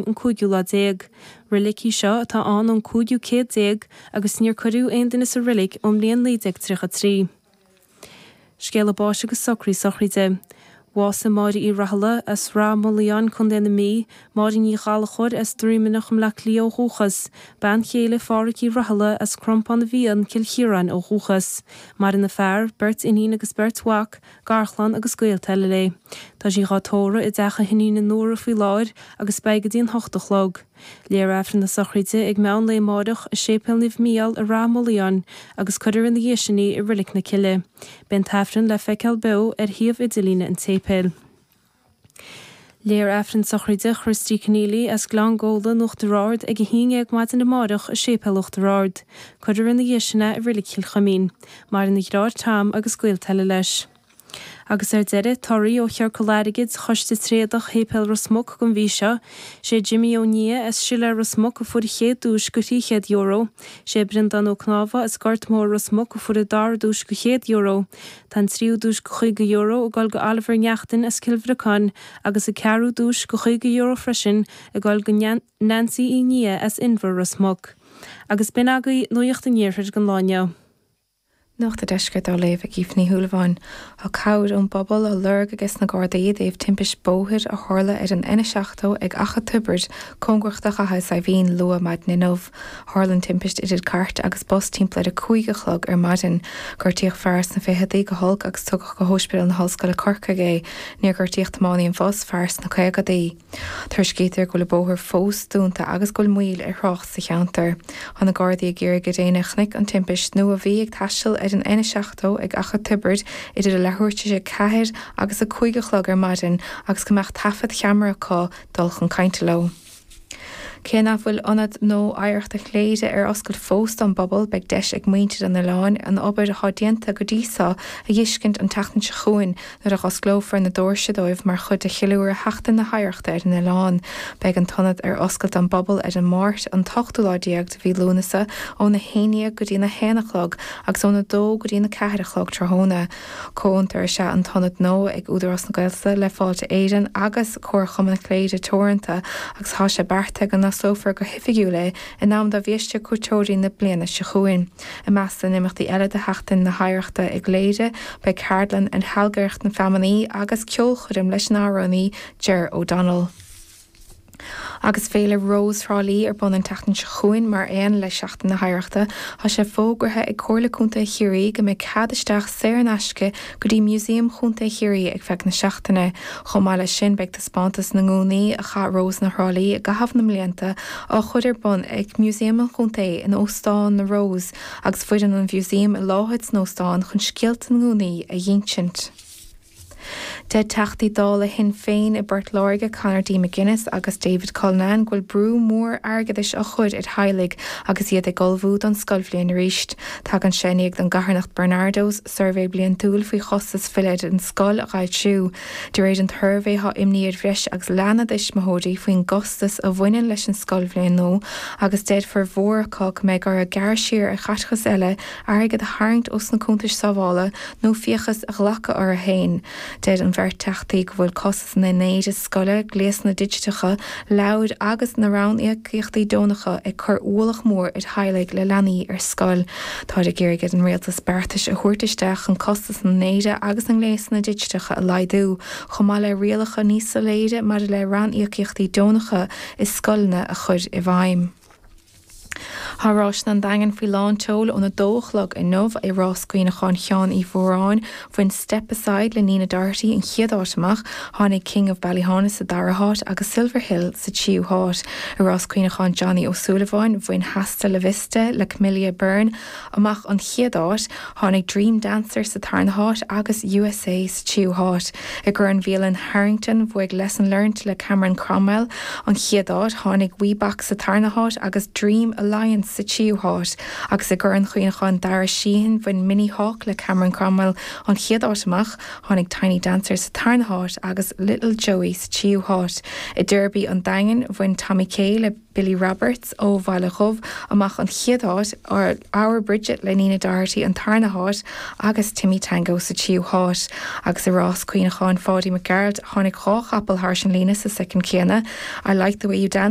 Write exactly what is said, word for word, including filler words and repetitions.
an cúigiú lá déag. Reilig í seo atá ann ón cúigiú céad déag agus níor cuireadh aon duine sa reilig ón mbliain naoi déag tríocha trí. Scéala báis agus socraí sochraide. Bhásaigh Máire Uí Rathaille as Rath Moliain, Contae na Mí, Máire Ní Ghallchóir as Droimeanach i mBleá Cliath ó dhúchas, bean chéile Phádhraic Uí Rathaille as Crompán na bhFiann, Cill Chiaráin ó dhúchas. Maireann a fear, beirt iníon agus beirt mhac, garchlann agus gaolta eile léi. Tá sí dhá tórramh i dteach a hiníne Nóra faoi láthair agus beidh go dtí an hocht a chlog. Léifear Aifreann na sochraide ag meán lae amáireach i Séipéal Naomh Mícheál i Rath Moliain agus cuirfear ina dhiaidh sin í i Reilig na Cille. Beidh an t-aifreann le feiceáil beo ar shuíomh idirlíne an tséipéil. Léifear Aifreann sochraide Christy Keneally as Gleann Gabhla in Uachtar Ard ag a haon déag maidin amáireach i Séipéal Uachtar Ard. Cuirfear ina dhiaidh sin é i Reilig Chill Chuimín. Maireann a dheartháir Tom agus gaolta eile leis. Agus ar deireadh, torthaí ó Chiorcal Airgid Choiste Tréadach Shéipéal Ros Muc don mhí seo. Sé Jimmy Ó Nia as Siléar Ros Muc a fuair an chéad duais de thrí chéad euro. Sé Breandán Ó Cnámha as Gort Mór Ros Muc a fuair an dara duais de chéad euro. Tá an tríú duais de chaoga euro ag dul go Oliver Neachtain as Cill Bhriocáin agus an ceathrú duais de chaoga euro freisin ag dul go Nancy Uí Nia as Inbhear Ros Muc. Agus b'in agaibh Nuacht an Iarthair don lá inniu. Nuacht an Deiscirt á léamh ag Aoife Ní Shúilleabháin. Tá cabhair ón bpobal á lorg aige na Gardaí i dtaobh timpist bóthair a tharla ar an N seachtó ag Achadh Tiobraid cóngarach do Chathair Saidhbhín luath maidin inniu. Tharla an timpist idir cairt agus bus timpeall ar a cúig a chlog ar maidin. Gortaíodh fear sna fichidí go holc agus tugadh go hOspidéal na hOllscoile Corcaigh é. Níor gortaíodh tiománaí an bhus fear sna caogadaí. Tuairiscítear go bhfuil an bóthar fós dúnta agus go bhfuil moill ar thrácht sa cheantar. Tá na Gardaí ag iarraidh ar éinne a chonaic an timpist nó a bhí ag taisteal ar an N seachtó ag Achadh Tiobraid idir a leathuair tar éis a ceathair agus a cúig a chlog ar maidin agus go mbeadh taifead cheamara acu dul chun cainte leo. Cé nach bhfuil ionad nua oidhreachta Chléire ar oscailt fós don bpobal, beidh deis ag muintir an oileáin an obair atá déanta go dtí seo a fheiscint an tseachtain seo chugainn nuair a osclófar na doirse dóibh mar chuid de cheiliúradh Sheachtain na hOidhreachta ar an oileán. Beidh an t-ionad ar oscailt don bpobal ar an Máirt an t-ochtú lá déag de mhí Lúnasa óna haon déag go dtí na haon a chlog agus óna dó go dtí na ceathair a chlog tráthnóna. Comhfhiontar is ea an t-ionad nua ag Údarás na Gaeltachta le Fáilte Éireann agus Comharchumann Chléire Teoranta agus tá sé beartaithe go n-osclófar go hoifigiúil é in am do bhiaiste cuairteoirí na bliana seo chugainn. I measc na n-imeachtaí eile de Sheachtain na hOidhreachta i gCléire, beidh ceardlann ar shealgaireacht na feamainní agus ceolchoirm leis an amhránaí Ger O'Donnell. Agus féile Rose Thrá Lí ar bun an tseachtain seo chugainn mar aon le Seachtain na hOidhreachta, tá sé fógartha ag Comhairle Contae Chiarraí go mbeidh cead isteach saor in aisce go dtí Músaem Chontae Chiarraí ag feadh na seachtaine. Chomh maith leis sin beidh taispeántas na ngúnaí a chaith Rósanna Thrá Lí i gcaitheamh na mblianta á chur ar bun ag Músaem an Chontae in Óstán na Rose agus foireann an mhúsaeim i láthair san óstán chun scéalta na ngúnaí a dh'insint. Deir Teachtaí Dála Shinn Féin i bPort Láirge Conor D. McGuinness agus David Cullinane go bhfuil brú mór airgeadais á chur ar theaghlaigh agus iad ag ullmhú don scoilbhliain arís. Tagann sé i ndiaidh don gcarthanacht Barnardo's suirbhé bliantúil faoi chostas filleadh ar an scoil a fhoilsiú. De réir an tsuirbhé tá imní ar bhreis agus leath na dtuismitheoirí faoin gcostas a bhaineann leis an scoilbhliain nua agus deir formhór acu go mbeidh orthu gearradh siar ar chaiteachas eile airgead a tharraingt ós na cuntais sábhála nó fiachas a ghlacadh orthu féin. Deir an bheirt teachtaí go bhfuil costas na n-éide scoile, gléasanna digiteacha, leabhair agus na ranníocaíochtaí deonacha ag cur ualach mór ar theaghlaigh le leanaí ar scoil. Táid ag iarraidh ar an rialtas beartais a thabhairt isteach chun costas na n-éide agus na ngléasanna digiteacha a laghdú, chomh maith le rialacha níos soiléire maidir le ranníocaíochtaí deonacha i scoileanna a chur i bhfeidhm. Tá Rásanna an Daingin faoi lán tseoil óna dó a chlog inniu i rás cuimhneacháin Sheáin Uí Mhóráin bhain Step Aside le Nina Doherty an chéad áit amach, tháinig King of Ballyhaunis sa dara háit agus Silver Hill sa tríú háit. I rás cuimhneacháin Johnny Ó Súilleabháin bhain Hasta La Vista le Camilla Byrne amach an chéad áit, tháinig Dream Dancer sa tarna háit agus USA sa tríú háit. I gCorn Bhialann Harrington bhuaigh Lesson Learned le Cameron Cromwell an chéad áit, tháinig Weebox sa tarna háit agus Dream Alliance Dance sa tríú háit agus i gCorn Chuimhneacháin Dara Sheehan bhain Mini Hawk le Cameron Cromwell an chéad áit amach, tháinig Tiny Dancer sa tarna háit agus Little Joey sa tríú háit. I Derby an Daingin bhain Tommy Kay le Billy Roberts ó Bhaile Dhubh amach an chéad áit Our Bridget le Nina Doherty an tarna háit agus Timmy Tango sa tríú háit agus i rás Cuimhneacháin Pháidí Mac Gearailt tháinig dhá chapall thar an líne sa soicind céanna. I like the way you dance